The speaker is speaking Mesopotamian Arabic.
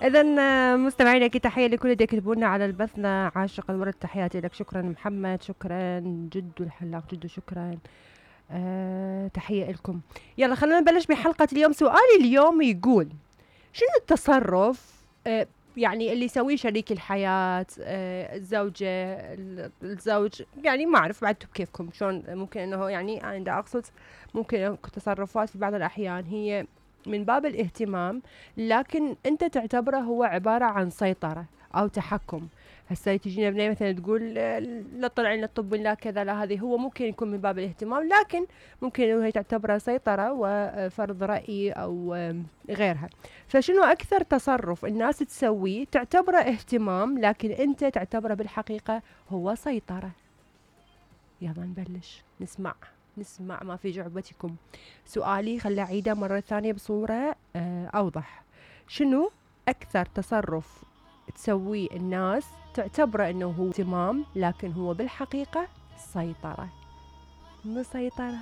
اذا مستمعينا اكيد تحيه لكل اللي يكتبوا لنا على البثنا. عاشق الورد تحياتي لك. شكرا محمد، شكرا جدو الحلاق، جدو شكرا. تحيه لكم. يلا خلينا نبلش بحلقه اليوم. سؤالي اليوم يقول شنو التصرف يعني اللي يسويه شريك الحياة، الزوجة، الزوج، يعني ما أعرف بعد كيفكم شلون ممكن أنه يعني أنا دا أقصد ممكن تصرفات في بعض الأحيان هي من باب الاهتمام، لكن أنت تعتبره هو عبارة عن سيطرة أو تحكم. هسه تجينا بنية مثلا تقول لا طلعين لا تطبين لا كذا لا، هذه هو ممكن يكون من باب الاهتمام، لكن ممكن انه هي تعتبرها سيطرة وفرض رأي او غيرها. فشنو اكثر تصرف الناس تسويه تعتبره اهتمام لكن انت تعتبره بالحقيقة هو سيطرة؟ يلا نبلش نسمع ما في جعبتكم. سؤالي خلي اعيده مرة ثانية بصورة اوضح. شنو اكثر تصرف تسويه الناس تعتبره انه هو اهتمام لكن هو بالحقيقة سيطرة؟ مسيطرة.